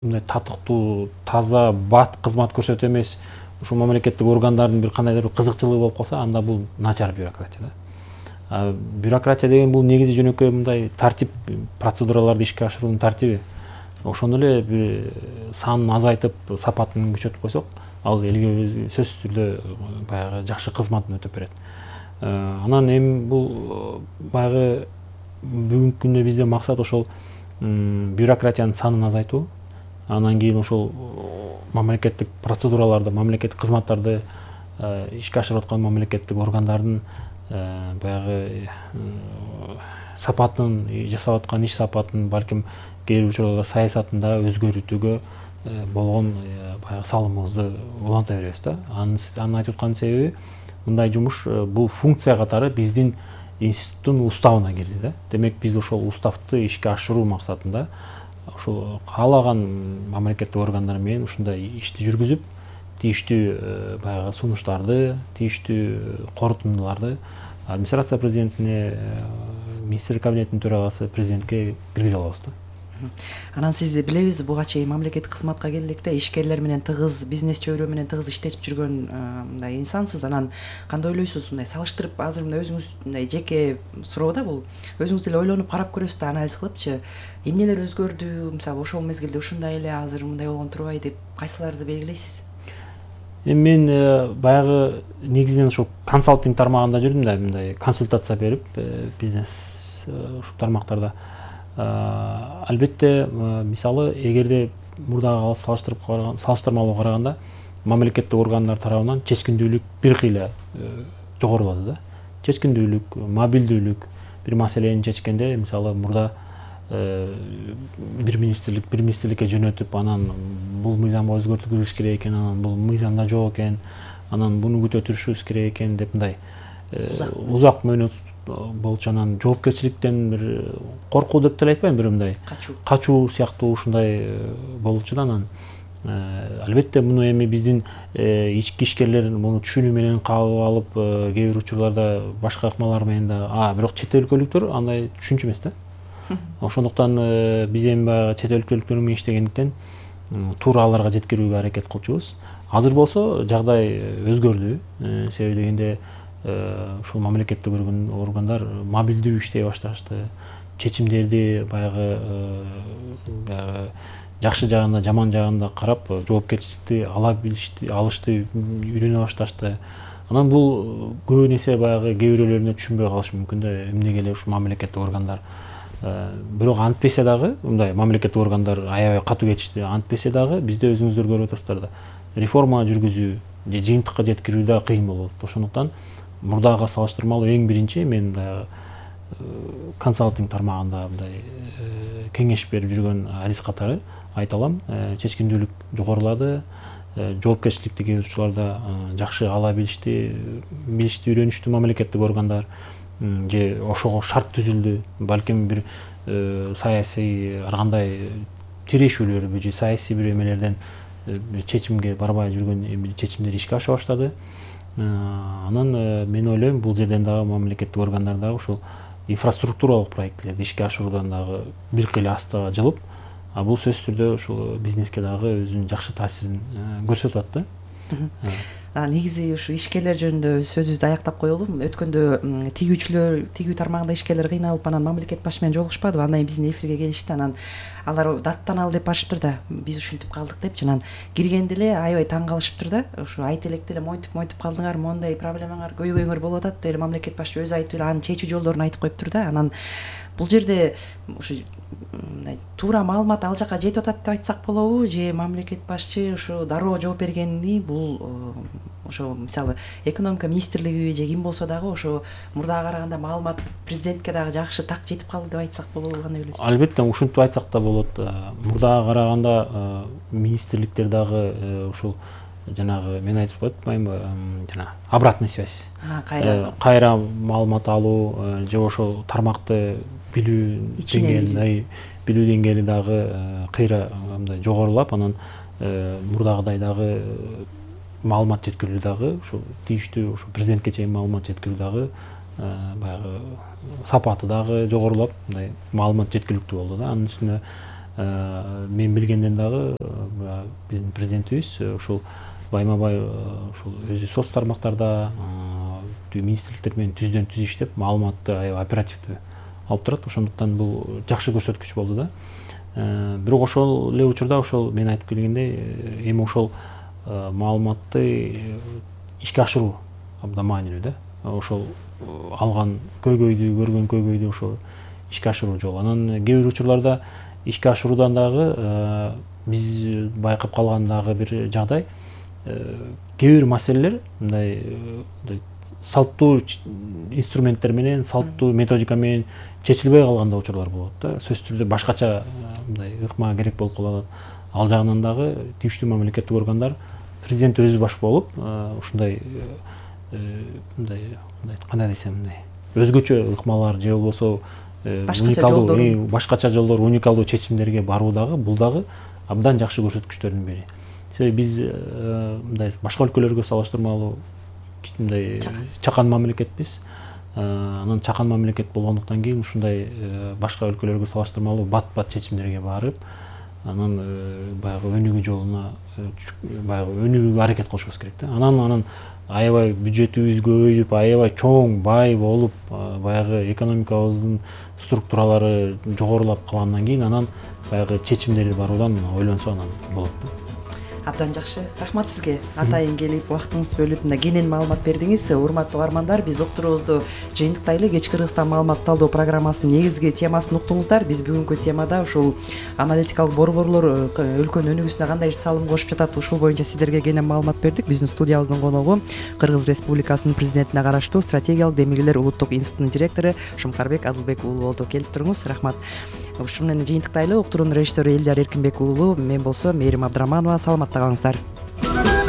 мындай татыктуу, таза, бат кызмат көрсөтүү эмес, ушул мамлекеттик органдардын бир кандайдыр бир кызыкчылыгы болуп калса, анда бул начар бюрократия да. Бюрократия деген бул негизи жөнөкөй мындай тартип, процедураларды ишке ашыруунун тартиби. Ошону эле бир санын азайтып, сапатын күчөтүп койсок, ал элге сөзсүз түрдө баягы жакшы кызматын өтөп берет. Анан эми бул баягы бүгүнкү күндө бизде максат ошол бюрократиянын санын азайтуу. Анан кийин ошол мамлекеттик процедураларды, мамлекеттик кызматтарды ишке ашырып аткан мамлекеттик органдардын баягы сапатын, жасап аткан иш сапатын, балким кээ бир учурларда саясатын да өзгөртүүгө болгон баягы салымыбызды уланта беребиз да. Анын айтып аткан себеби мындай жумуш бул функция катары биздин институттун уставына кирди да. Демек биз ошол уставды ишке ашыруу максатында ошол каалаган мамлекеттик органдар менен ушундай ишти жүргүзүп, тийиштүү баягы сунуштарды, тийиштүү корутундуларды администрация президентине, министрлик кабинетинин төрагасы президентке киргизе алабыз да. Анан сиз билебиз, буга чейин мамлекеттик кызматка келе электе ишкерлер менен тыгыз, бизнес чөйрө менен тыгыз иштешип жүргөн мындай инсансыз. Анан кандай ойлойсуз, мындай салыштырып, азыр мындай өзүңүз мындай жеке суроо да бул. Өзүңүз деле ойлонуп карап көрөсүз да, анализ кылыпчы, эмнелер өзгөрдү, мисалы ошол мезгилде ушундай эле, азыр мындай болгон турбайбы деп кайсыларды белгилейсиз? Эми мен баягы негизинен ушул консалтинг тармагында жүрдүм да, мындай консультация берип, бизнес ушул тармактарда. Албетте, мисалы, эгерде мурдагы салыштырмалуу караганда мамлекеттик органдар тарабынан чечкиндүүлүк бир кыйла жогорулады да. Чечкиндүүлүк, мобилдүүлүк, бир маселени чечкенде, мисалы, мурда бир министрликке жөнөтүп, анан бул мыйзамга өзгөртүү керек экен, анан бул мыйзамда жок экен, анан буну күтө турушубуз керек экен деп мындай узак мөөнөт болчу. Анан жоопкерчиликтен бир коркуу деп деле айтпайм, бир мындай качуу сыяктуу ушундай болчу да. Анан албетте муну эми биздин ички ишкерлер муну түшүнүү менен кабыл алып, кээ бир учурларда башка ыкмалар менен да, бирок чет өлкөлүктөр андай түшүнчү эмес да. Ошондуктан биз эми баягы чет өлкөлүктөр менен иштегендиктен туура аларга жеткирүүгө аракет кылчубуз. Азыр болсо жагдай өзгөрдү. Себеби дегенде ушул мамлекеттик органдар мобилдүү иштей башташты. Чечимдерди баягы жакшы жагында, жаман жагында карап, жоопкерчиликти алышты, үйрөнө башташты. Анан бул көбүн эсе баягы кээ бирөөлөрүнө түшүнбөй калышы мүмкүн да, эмнеге эле ушул мамлекеттик органдар. Бирок антпесе дагы, мындай мамлекеттик органдар аябай катуу кетишти. Антпесе дагы бизде өзүңүздөр көрүп атасыздар да, реформа жүргүзүү же жыйынтыкка жеткирүү да кыйын болот. Ошондуктан мурдага салыштырмалуу эң биринчи мен консалтинг тармагында мындай кеңеш берип жүргөн адис катары айта алам, чечкиндүүлүк жогорулады, жоопкерчиликти кээ бир учурларда жакшы ала билишти, үйрөнүштү мамлекеттик органдар, же ошого шарт түзүлдү. Балким бир саясий ар кандай тирешүүлөр же саясий бир эмелерден чечимге барбай жүргөн чечимдер ишке аша баштады. Анан мен ойлойм, бул жерден дагы мамлекеттик органдар дагы ушул инфраструктуралык проекттерди ишке ашыруудан дагы бир кыйла астыга жылып, бул сөзсүз түрдө ушул бизнеске дагы өзүнүн жакшы таасирин көрсөтүп атты. Негизи ушу ишкерлер жөнүндө сөзүбүздү аяктап коелу. Өткөндө тигүү тармагында ишкерлер кыйналып, анан мамлекет башы менен жолугушпадыбы? Андан кийин биздин эфирге келишти. Анан алар даттаналы деп барышыптыр да, биз ушинтип калдык депчи. Анан киргенде эле аябай таң калышыптыр да. Ушу айта электе эле мойтуп калдыңар, моундай проблемаңар, көйгөйүңөр болуп атат деп эле мамлекет башы өзү айтып эле анын чечүү жолдорун айтып коюптур да. Анан бул жерде ушу туура маалымат ал жака жетип атат деп айтсак болобу, же мамлекет башчы ушу дароо жооп бергени бул ошо мисалы экономика министрлиги же ким болсо дагы ошо мурдага караганда маалымат президентке дагы жакшы так жетип калды деп айтсак болобу, кандай ойлойсуз? Албетте ушинтип айтсак да болот. Мурдага караганда министрликтер дагы ушул жанагы мен айтып атпаймынбы, жана обратная связь, кайра маалымат алуу же ошол тармакты билүү деңгээли дагы кыйра мындай жогорулап, анан мурдагыдай дагы маалымат жеткирүү дагы ушул тийиштүү президентке чейин маалымат жеткирүү дагы баягы сапаты дагы жогорулап, мындай маалымат жеткиликтүү болду да. Анын үстүнө мен билгенден дагы биздин президентибиз ушул байма бай ушул өзү соц тармактарда министрликтер менен түздөн түз иштеп маалыматты аябай оперативдүү алып турат. Ошондуктан бул жакшы көрсөткүч болду да. Бирок ошол эле учурда ошол мен айтып келгендей эми ошол маалыматты ишке ашыруу абдан маанилүү да. Ошол алган көйгөйдү, көргөн көйгөйдү ошол ишке ашыруу жолу. Анан кээ бир учурларда ишке ашыруудан дагы биз байкап калган дагы бир жагдай, кээ бир маселелер мындай салттуу инструменттер менен, салттуу методика менен чечилбей калган да учурлар болот да. Сөзсүз түрдө башкача мындай ыкма керек болуп калат. Ал жагынан дагы тийиштүү мамлекеттик органдар президент өзү баш болуп ушундай мындай кандай десем, мындай өзгөчө ыкмалар же болбосо башкача жолдор, уникалдуу чечимдерге баруу дагы бул дагы абдан жакшы көрсөткүчтөрдүн бири. Себеби биз мындай башка өлкөлөргө салыштырмалуу мындай чакан мамлекетпиз. Анан чакан мамлекет болгондуктан кийин ушундай башка өлкөлөргө салыштырмалуу бат чечимдерге барып, анан баягы өнүгүү жолуна баягы өнүгүүгө аракет кылышыбыз керек да. Анан аябай бюджетибиз көбөйүп, аябай чоң, бай болуп, баягы экономикабыздын структуралары жогорулап калгандан кийин анан баягы чечимдерди баруудан ойлонсо анан болот да. Абдан жакшы. Рахмат сизге. Атайын келип, убактыңызды бөлүп, мына кенен маалымат бердиңиз. Урматтуу угармандар, биз уктуруубузду жыйынтыктайлы. Кечки Кыргызстан маалымат талдоо программасынын негизги темасын уктуңуздар. Биз бүгүнкү темада ушул аналитикалык борборлор өлкөнүн өнүгүүсүнө кандай салым кошуп жатат, ушул боюнча сиздерге кенен маалымат бердик. Биздин студиябыздын коногу Кыргыз Республикасынын президентине караштуу стратегиялык демилгелер улуттук институтунун директору Шумкарбек Адылбек уулу болду. Келип туруңуз. Рахмат. Ушун менен жыйынтыктайлы. Уктуруунун режиссеру Элдияр Эркинбек уулу, мен болсо Мээрим Абдыраманова. Саламатта калыңыздар.